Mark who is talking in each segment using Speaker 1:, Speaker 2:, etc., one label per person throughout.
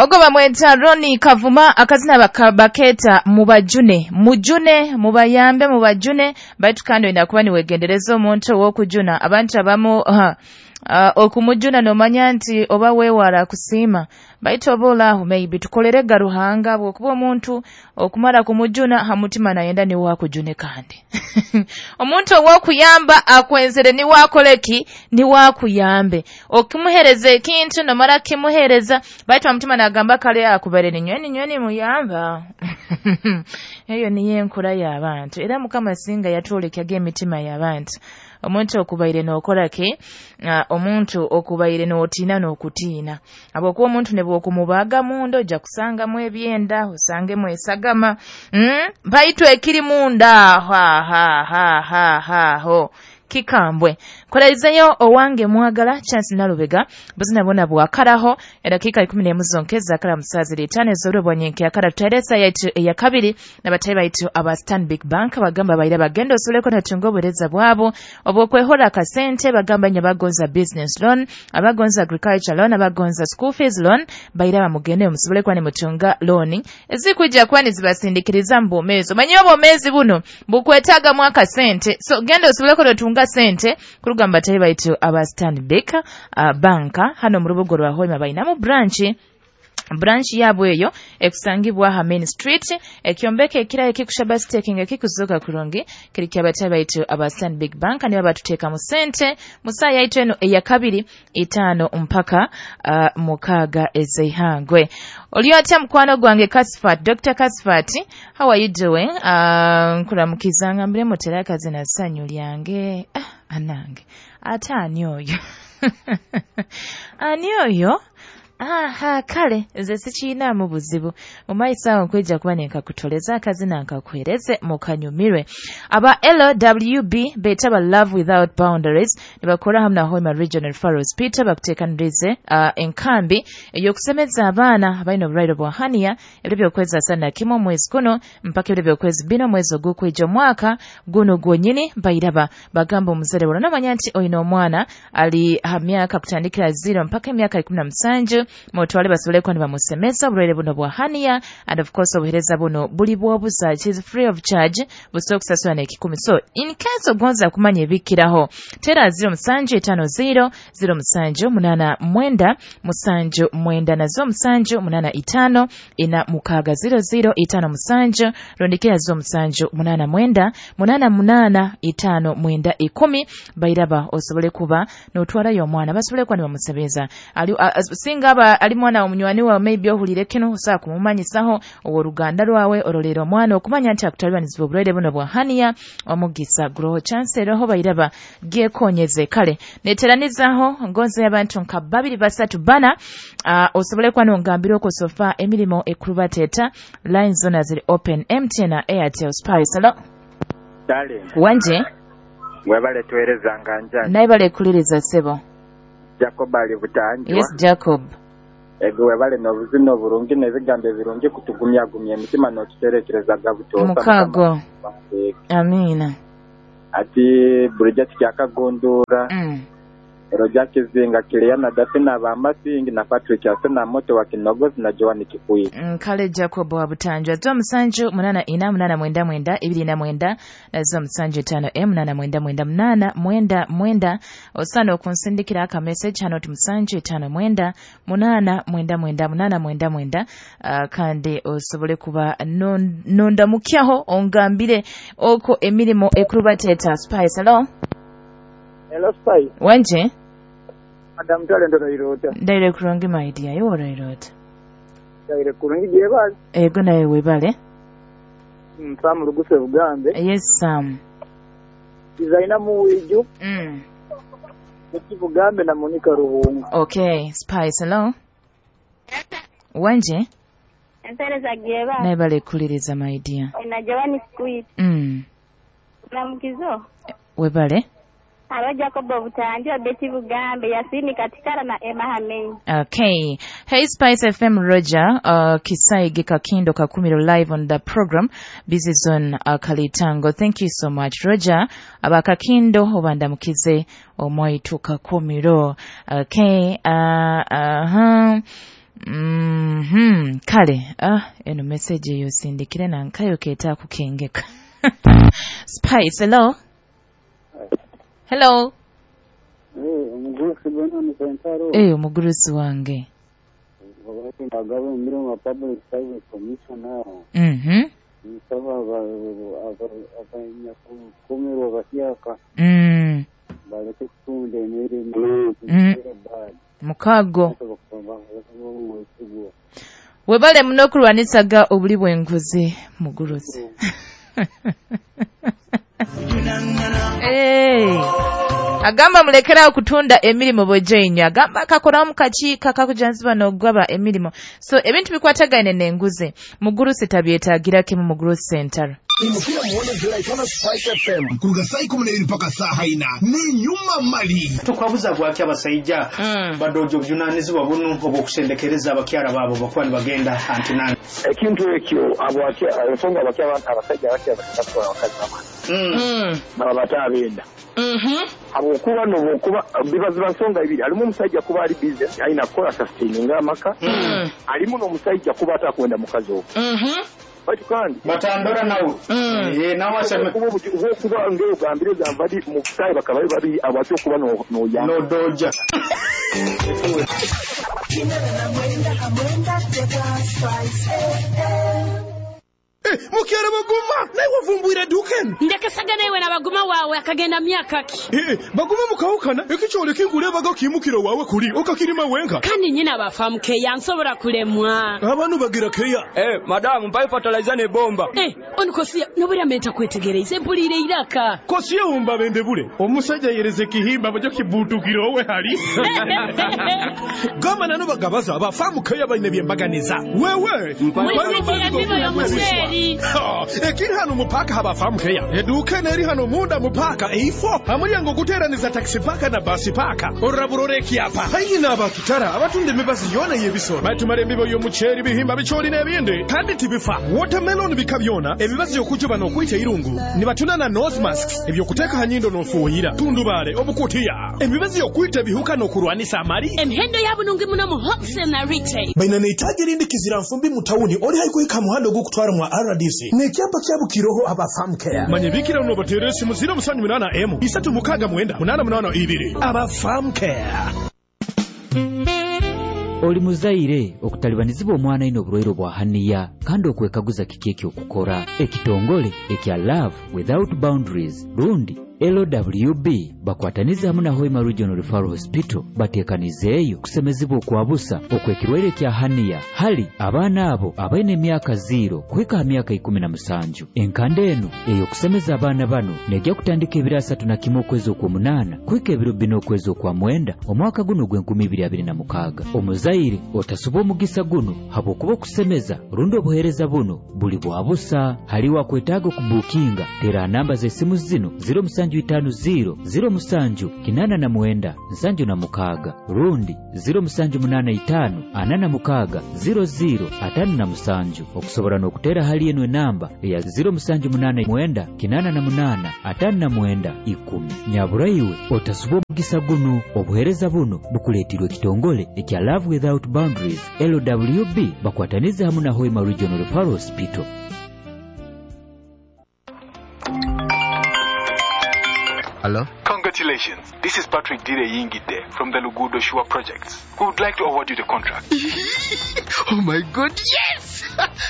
Speaker 1: Ogo bamweta Roni Kavuma, akazina baketa mubajune, mujune, mubayambe, mubajune, baitu kandi oyina kuba niwegendereza omuntu ow'okujuna. Abantu abamu okumujuna nomanya nti oba weewala kusiima, baitu oba olaaho maybe tukolerega Ruhanga, bw'okuba omuntu okumara kumujuna ha mutima nayenda niwe akujune kandi. Omuntu ow'okuyamba akwenzere niwe akoleki, niwe akuyambe. Okimuhereza ekintu nomara kimuhereza, baitu ha mutima nagamba kale akubere ninywe muyamba. Eyo niyo enkura y'abantu. Era Mukama singa yatwolekyaga emitima y'abantu. Omuntu okubaire n'okora ki? Omuntu okubaire n'otiina n'okutiina. Habwokuba omuntu ne bw'okumubaaga munda ojja kusangamu ebyenda, osangemu esagama. Baitu ekiri munda ha ha ha ha ha ho. Kikambwe. Kolaizeyo owange mwagala Chance Nalubega, buzina bona bwakaraho edakika 11 zonkeza kala musazi litane zoro bwanyenke akara tuteresa yaitu ya kabiri na batayi baitu aba Stanbic Bank bagamba baira bagenda osoleko na tungo obuhereza bwabo obwokwehora akasente, bagamba nya bagonza business loan, abagonza agriculture loan, abagonza school fees loan, baira bamugende musobole kwa ni mutunga loan ezikujja kwani zibasindikiriza mu bwomeezi. Omanyi obwomeezi buno bukwetaaga mu akasente, so genda osobole ko sente kurugamba batayi baitu aba Stanbic Bank hano mu rubuga rwa Hoima bainamu branch yabwe eyo ekusangibwa ha Main Street, ekyombeko ekira ekikushaba staking ekikuzoka kurungi kiri kyabatayi baitu aba Stanbic Bank nibo batuteeka mu sente musaa yaitu eno eya kabiri 5 mpaka 6 ez'eihangwe. Oli otya mukwano gwange Kasfat, Dr. Kasfat, how are you doing? Nkuramukiza ngambire mutera akazina ssanyu lyange. Anange ate ani oyo? Ani oyo? Aha, kale nze sikiinaamu buzibu. Mu maiso awo nkwija kuba nenkakutoleza akazina nkakuhereze mukanyumirwe. Aba LWB beeta ba Love Without Boundaries nibakora hamwe na Hoima Regional Referral Hospital bakuteekanirize enkambi ey'okusemeza abaana abalina obulwaire bwa hania ebiro by'okwezi 31 omwezi guno mpaka ebiro by'okwezi 4 omwezi ogw'okwija omwaka guno gwonyini. Bairaba bagamba omuzere wona nomanya nti oyina omwana ali ha myaka kutandikira 0 mpaka emyaka 17 mutwale basobole kuba nibamusemeza obulwaire buno bwa hania, and of course obuhereza buno buli bw'obusa, it is free of charge, busobola okusasula n'ekikumi. So in case ogonza kumanya ebikiraho, tera 0750 0789 79 na 0785 46 00 57 rondikira 0789 88 59 10 bairaba osobole kuba n'otwalayo omwana basobole kuba nibamusebeza. Singa aba ali mwana omunywani wawe maybe ohulire kino osobola kumumanyisaho ow'oruganda rwawe orolera omwana okumanya nti akutalibaniziibwa obulwaire buno bwa hania, omugisa guroho chance eroho bairaba gyekonyeze. Kale neteranizaho ngonze y'abantu nka 2 3 4 osobole kuba nongambira okwo sofa emirimo ekurubateeta line zona ziri open, MTN na Airtel. Spice, hello.
Speaker 2: Darling.
Speaker 1: Wanje.
Speaker 2: Webale tuwereza nganja.
Speaker 1: Naye bale kuliriza sebo.
Speaker 2: Jacob ali Butanjwa.
Speaker 1: Yes, Jacob.
Speaker 2: Ego webale n'obuzina oburungi n'ebigambo ebirungi kutugumyagumya emitima n'otuterekereza gabutosa.
Speaker 1: Mukago. Amina.
Speaker 2: Ati Bridget kyakagundura. Roja Kizinga Kiliana Dafina Bamasingi na Patrick Asena Moto wa Kinogozi na Joan Kikuyi.
Speaker 1: Kale Jacob wa Butanjwa 07 8 4 8 9 29 na 07 5 8 9 9 8 9 osana okunsindikira aka message hano ti 7 5 9 8 9 8 9 9 kandi osobole kuba nondamukyaho ongambire oko emirimo ekurubateta. Spice, hello.
Speaker 3: Hello Spice.
Speaker 1: Wanje.
Speaker 3: Madam Talent Rairota.
Speaker 1: Ndaire kurungi my dear, iwe Rairota.
Speaker 3: Ndaire kurungi jebale.
Speaker 1: Ego nawe webale.
Speaker 3: Sam Ruguse Bugambe.
Speaker 1: Yes Sam.
Speaker 3: Designer Muwiju. Bugambe na Monica Ruhunga.
Speaker 1: Okay, Spice, hello. Wanje.
Speaker 4: Ensereza jebale.
Speaker 1: Naibale kuliriza my dear.
Speaker 4: Na Joani Squid. Namukizo.
Speaker 1: Webale.
Speaker 4: Alo Jacob Butanjwa, Betty Bugambe, Yasini Katikara na Emma Hamei.
Speaker 1: Okay. Hey Spice FM Roger, Kisaige Kakindo Kakumiro live on the program Busy Zone Kalitango. Thank you so much Roger. Abakakindo obandamukize omwaitu Kakumiro. Okay. Kale eno message eyo sindikire nankayo keta kukengeka. Spice, hello. Hello.
Speaker 3: Omugurusi gwana musentaro.
Speaker 1: Omugurusi wange.
Speaker 3: Agaba emirimo Public Service Commission. Nsaba abanyakukumirwa bahyaka. Baleke kutunda emirimu.
Speaker 1: Mukago. Webale muno kulwanisaga obuli bw'enguzi mugurusi. Agamba mulekera okutunda emirimu bwejenya. Agamba akakora mukakiika kakujanziba n'ogwaba emirimu. So ebintu bikwatagaine n'enguzi. Mugurusi tabyetagira kimu Mugurusi Center.
Speaker 5: Imukira muone Julaitona Spice FM kuruga saa 12 mpaka saa 4 ni nyuma mali.
Speaker 6: Tukwabuza gwaki abasajja badojo bujunanizibwa bunu obwokusendekereza abakyala baabo bakuba nibagenda antinani.
Speaker 7: Ekintu ekyo abwaki ensonga abasajja abakya abakazi baba batabenda. Habwokuba n'obwokuba bibaziba nsonga ibiri alimu omusajja kuba ali busy alina kukola sustaining amaka alimu n'omusajja kuba atakwenda mukazi ogwo. Baitu kandi
Speaker 6: batandora nawe nawe aseme
Speaker 7: kuba ngeo gambire zambadi mukutayi bakaba babiri abacyo kuba no ya
Speaker 6: no doja.
Speaker 5: Mukyala baguma naye wavumbwira duken
Speaker 8: ndekesagana iwe na baguma wawe akagenda myaka ki
Speaker 5: baguma mukawukana ekikyole kinkulebaga kimukiro wawe kuli okakirima wenka
Speaker 8: kandi nyina bafamu keya nsobola kulemwa
Speaker 5: abantu bagira keya
Speaker 9: madamu mpaye fertilizer ne bomba
Speaker 8: onikosia nobera menta kwetegereza empulire iraka
Speaker 5: kosiye umba bende bule omusajja yereze kihimba bajo kibutukiro we hali gama nano bagabaza abafamu keya bayine byembaganiza wewe ekiri hano mupaka habafamu keya eduka neri hano munda mupaka eifo amulyango guteraniza taxi paka na basi paka oraburore kyapa hayi n'abakitara abatunda emibazi yona y'ebisoro batumara embibo y'omuceeri bihimba bichori n'ebindi kandi tibifa watermelon bika byona emibazi y'okujuba n'okwita irungu nibatuna na nose masks ebyokuteeka hanyindo n'ofuuyira tundubale obukutiya emibazi y'okwita ebihuka n'okurwanisa amali
Speaker 8: emihendo yabunungi muno mu wholesale na retail
Speaker 5: baina nehitaji rindi kizira nfumbi mutawuni oli haikuhika muhando gukutwara mwa RDC nekyapa kyabukiroho abafamu care manye bikira unobatere simu 078 M 369 882 abafamu care.
Speaker 10: Oli muzaire okutalibanizibwa omwana ino obulwaire bwa haniya kandi okwekaguza kiki ekyokukora. Ekitongole ekya Love Without Boundaries rundi LWB bakwataniza hamwe na Hoima Regional Referral Hospital batekanizeeyo kusemezibwa okwabusa okwekirwaire kya haniya hali abaana abo abaine emyaka 0 kuhika ha myaka 17. Enkanda eno ey'okusemeza abaana bano nejja kutandika ebiro 31 okwezi okw'omunaana kuhika ebiro 4 okwezi okwa9 omwaka guno ogw'e2026. Omuzaire otasuba omugisa guno habwokuba okusemeza rundi obuheereza buno buli bwabusa. Hali wakwetaaga okubukinga tera namba z'esimu zino 0750 07 89 76 rundi 0785 46 00 57 okusobola n'okutera hali eno enamba eya 0789 88 59 10. Nyaburaiwe otasuba omugisa guno. Obuheereza buno bukuleetirwe ekitongole ekya Love Without Boundaries LWB bakwataniza hamwe na Hoima Regional Referral Hospital.
Speaker 11: Hello?
Speaker 12: Congratulations. This is Patrick Dire Yingide from the Lugudo Shua Projects. We would like to award you the contract.
Speaker 11: Oh my God, yes!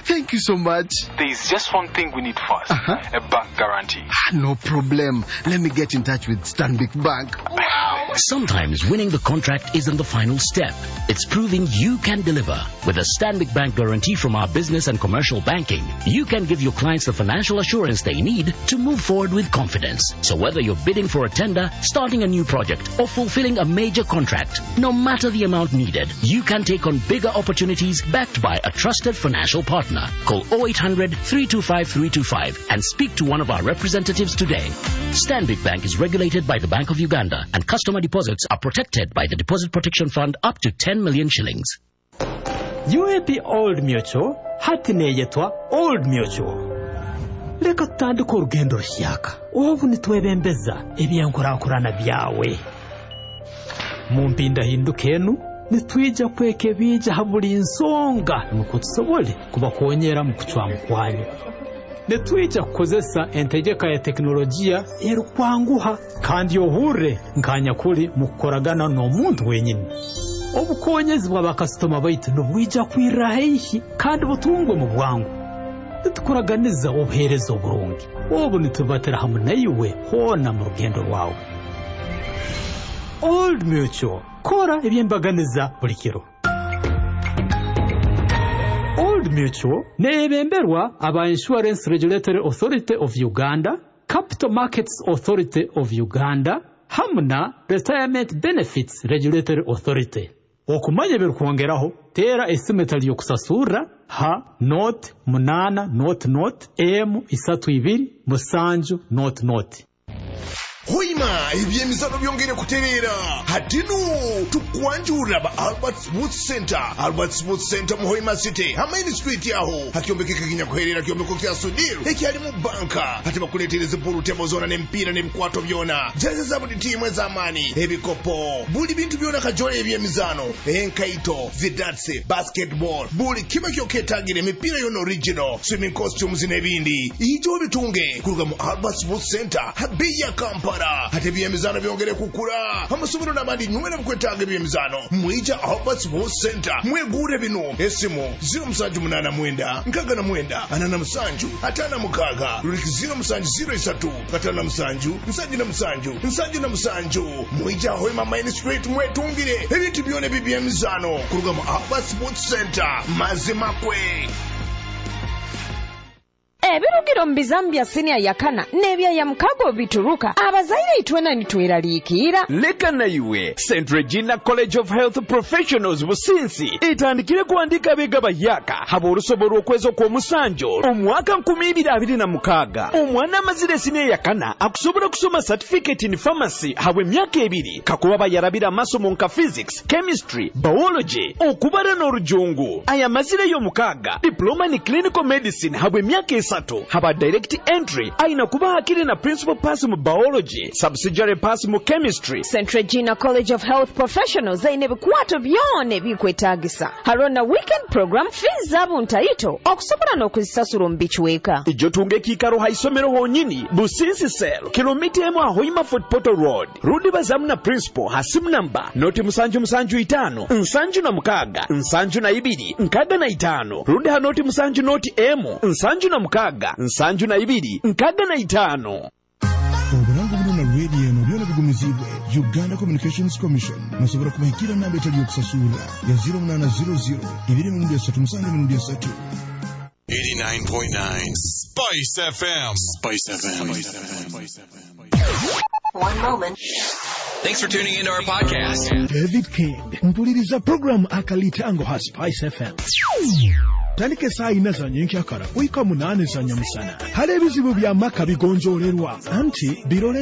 Speaker 11: Thank you so much.
Speaker 12: There is just one thing we need first. A bank guarantee.
Speaker 11: No problem. Let me get in touch with Stanbic Bank. Wow!
Speaker 13: Sometimes winning the contract isn't the final step. It's proving you can deliver. With a Stanbic Bank guarantee from our business and commercial banking, you can give your clients the financial assurance they need to move forward with confidence. So whether you're bidding for a tender, starting a new project, or fulfilling a major contract, no matter the amount needed, you can take on bigger opportunities backed by a trusted financial partner. Call 0800 325 325 and speak to one of our representatives today. Stanbic Bank is regulated by the Bank of Uganda, and customer deposits are protected by the Deposit Protection Fund up to 10 million shillings.
Speaker 14: UAP Old Mutual hati neyetwa Old Mutual. Leka tutandike orugendo rushyaka obu nitwebembeza ebyenkurankurana byawe mu mpindahinduka enu Nitwija kwekebiija ha buli nsonga nukwo tusobole kubakonyera mu kucwamu kwanyu. Nitwija kukozesa entegeka ya tekinologiya erukwanguha kandi ohurre nkanyakuli mu kukoragana n'omuntu wenyini. Obukonyezi bw'abakasitoma baitu nibwija kwirra haihi kandi butungwe mu bwangu. Nitukuraganiza obuheereza oburungi. Obu nitubatira hamu naiwe hoona mu rugendo rwawe. Old Mutual, kora ebyembaganiza buli kiro. Old Mutual neebemberwa aba Insurance Regulatory Authority of Uganda, Capital Markets Authority of Uganda, hamu na Retirement Benefits Regulatory Authority. Okumanya ebirukwongeraho, teera esimu etali y'okusasurra ha 08 00 M 32 7 00.
Speaker 15: Hoima ebyemizano byongere kutereera. Hatinu tukwanjurira ba Albert Sports Center. Albert Sports Center mu Hoima City, ha Main Street aho hakyombeko kikinyakuherera kyombeko kya Sudiru ekyalimu banka. Hati bakuletereza pool table zona n'emipiira n'ebikwato byona, jezi za buli tiimu ez'amaani, ebikopo, buli bintu byona kajole ebyemizano, enkaito, zidatsi, basketball, buli kimwe kyoketagire, emipiira yona original, swimming costumes n'ebindi. Ijo bitunge kuruga mu Albert Sports Center ha bei ya Kampala. Hati ebyemizano byongere kukula, amasomero n'abandi nywena mukwetaaga ebyemizano, mwija Albert Sports Center mwegure bino. Esimu 0789 69 47 56 ruliki 0703 57 77 77. Mwija Hoima Main Street mwetungire ebintu byona ebyemizano kuruga mu Albert Sports Center. Mazima kwe.
Speaker 16: Ebirugiro mu bizamu bya siniya yakana n'ebya ya mukago bituruka abazaire itwena nitweraliikirira.
Speaker 17: Leka naiwe St Regina College of Health Professionals Businsi etandikire kuandika abega bayaka haba olusobo lw'okwezi okw'omusanjo omwaka 2026. Omwana amazire siniya yakana akusobola kusoma certificate in pharmacy habwe emyaka 2 kakuba bayarabira amasomo nka physics, chemistry, biology, okubara n'orujungu. Aya mazire y'omukaga diploma ni clinical medicine habwe emyaka 3 haba direct entry aina kuba hakiri na principal pass mu biology, subsidiary pass mu chemistry.
Speaker 16: St Regina College of Health Professionals aine ebikwato byona ebikwetagisa. Harona weekend program, fees zabo ntaito okusobola n'okuzisasura omu bichweka.
Speaker 17: Ijo tunge kikaro haisomero honyini Businsi Cell kilomita emu Hoima Fort Portal Road. Rudi bazamu na principal hasimu namba 075 76 72 65. Rudi ha 07 0 M 76 72 65.
Speaker 15: Obulango buno na radio eno byona bigumizibwe Uganda Communications Commission. Musobola kubahikira namba etali yokusasura ya 0800 237 3.
Speaker 18: 89.9 Spice FM. Spice FM. Spice FM.
Speaker 19: One moment.
Speaker 18: Thanks for tuning into our podcast.
Speaker 5: David King mpuliriza programu Akalitango ha Spice FM. Tandika esaawa 4 za nyenkyakara kuhika 8 za nyamusana. Hali ebizibu bya maka bigonjoolerwa anti birole.